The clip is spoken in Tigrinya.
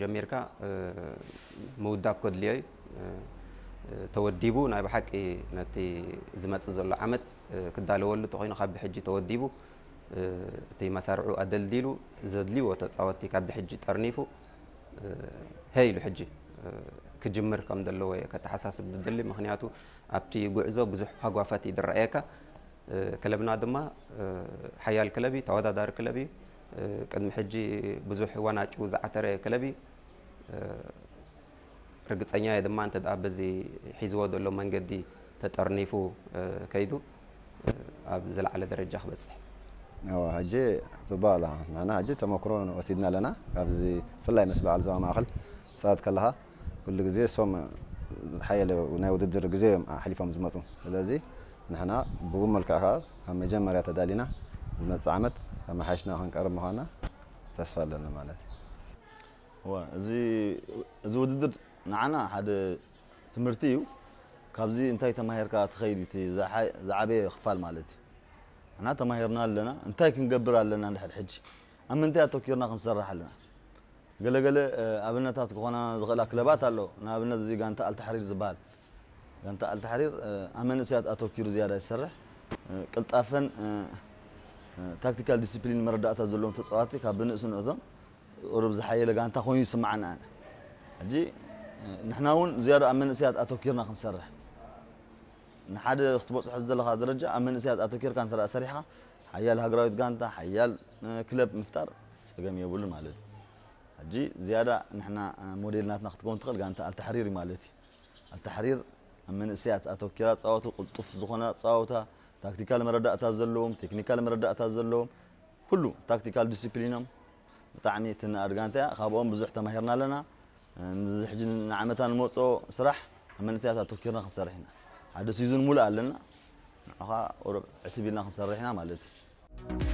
ጀሚርካ ምውዳብ ከድልዮ እዩ። ተወዲቡ ናይ ብሓቂ ነቲ ዝመጽእ ዘሎ ዓመት ክዳለወሉ ተኮይኑ ካብ ብሕጂ ተወዲቡ እቲ መሳርዑ ኣደልዲሉ ዘድልዎ ተጻወቲ ካብ ብሕጂ ጠርኒፉ ሀይ ኢሉ ሕጂ ክጅምር ከም ዘለዎ እየ ከተሓሳስብ ዝደሊ። ምክንያቱ ኣብቲ ጉዕዞ ብዙሕ ሃጓፋት እዩ ዝረኣየካ። ክለብና ድማ ሓያል ክለብ እዩ፣ ተወዳዳሪ ክለብ እዩ። ቅድሚ ሕጂ ብዙሕ ዋናጩ ዝዓተረ ክለብ እዩ። ርግጸኛ እየ ድማ እንተ ደኣ በዚ ሒዝዎ ዘሎ መንገዲ ተጠርኒፉ ከይዱ ኣብ ዝለዓለ ደረጃ ክበጽሕ። እወ፣ ሕጂ ጽቡቕ ኣላ። ንሕና ሕጂ ተመክሮ ወሲድና ኣለና። ካብዚ ብፍላይ ምስ በዓል ዞባ ማእከል ትጻወት ከለኻ ኩሉ ግዜ እሶም ዝሓየለ ናይ ውድድር ግዜ እዮም ኣሕሊፎም ዝመጹ። ስለዚ ንሕና ብኡ መልክዕ ከኣ ካብ መጀመርያ ተዳሊና ዝመጽእ ዓመት ኣመሓይሽና ክንቀርብ ምዃንና ተስፋ ኣለና ማለት እዩ። እወ፣ እዚ እዚ ውድድር ንዓና ሓደ ትምህርቲ እዩ። ካብዚ እንታይ ተማሂርካ ትኸይድ እቲ ዝዓበየ ክፋል ማለት እዩ። ንሕና ተማሂርና ኣለና፣ እንታይ ክንገብር ኣለና ንድሕር ሕጂ ኣብ ምንታይ ኣተኪርና ክንሰርሕ ኣለና። ገለገለ ኣብነታት ክኾና ዝኽእላ ክለባት ኣሎ። ንኣብነት እዚ ጋንታ ኣልተሕሪር ዝበሃል ጋንታ ኣልተሕሪር ኣብ መንእሰያት ኣተኪሩ ዝያዳ ይሰርሕ። ቅልጣፈን ታክቲካል ዲስፕሊን መረዳእታ ዘለዎም ተፃዋቲ ካብ ብንእስነቶም ቁሩብ ዝሓየለ ጋንታ ኮይኑ ይስምዓና ኣነ። ሕጂ ንሕና እውን ዝያዳ ኣብ መንእሰያት ኣተኪርና ክንሰርሕ ንሓደ ክትበፅሖ ዝደለኻ ደረጃ ኣብ መንእሰያት ኣተኪርካ እንተ ሰሪሕኻ ሓያል ሃገራዊት ጋንታ ሓያል ክለብ ምፍጣር ፀገም የብሉ ማለት እዩ። ሕጂ ዝያዳ ንሕና ሞዴል ናትና ክትከውን ትኽእል ጋንታ ኣልተሕሪር ማለት እዩ። ኣልተሕሪር ኣብ መንእሰያት ኣተኪራ ፃወቱ ቅልጡፍ ዝኾነ ፃወታ ታክቲካል መረዳእታ ዘለዎም ቴክኒካል መረዳእታ ዘለዎም ኩሉ ታክቲካል ዲስፕሊኖም ብጣዕሚ ትንኣድ ጋንታ እያ። ካብኦም ብዙሕ ተማሂርና ኣለና። ንዚ ሕጂ ንዓመታ ንመፅኦ ስራሕ ኣብ መንእሰያት ኣተኪርና ክንሰርሕ ኢና። ሓደ ሲዝን ሙሉእ ኣለና። ንዑኻ ቁሩብ ዕትብ ኢልና ክንሰርሕ ኢና ማለት እዩ።